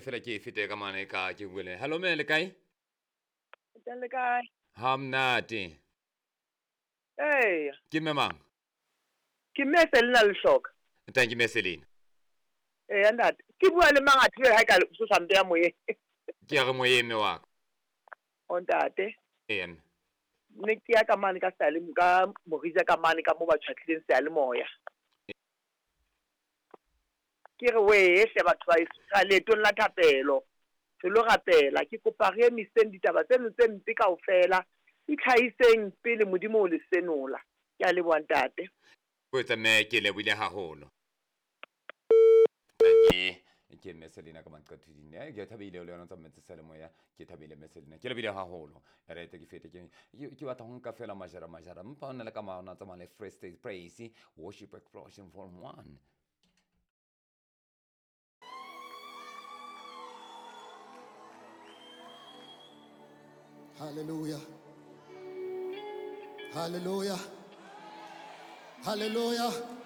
tle fela ke e fete ka mane ka ke bue le. Hello mme, le kae? Teng le kae? Ha monate. Eya. Ke mme mang? Ke mme Selina Lehloka. Thank you mme Selina. Eya ntate. Ke bua le mang athe ha e ka so sa mpeya moyeng. Ke ya re moyeng mme wa ka. O ntate. Eya mme. Ne ke ya ka mane ka seyale ka Morija ka mane ka mo ba tjhwatlileng seyalemoya. Ke re wee hle batho ba heso re leetong la thapelo. Re lo rapela. Ke kopa re emiseng ditaba tseno tse mpe kaofela. Itlhahiseng pele Modimo o le senola. Ke a leboha ntate. Kgotsa mme ke lebohile haholo. Ke mme Selina ka maqetheding. Eh, ke thabile le yona tsa metse selemoya. Ke thabile mme Selina. Ke lebile haholo. Re te ke fete ke ke batla ho nka fela majara majara. Mpa ona le ka maona tsamaya le Free State Praise Worship Explosion Volume 1. Hallelujah. Hallelujah. Hallelujah.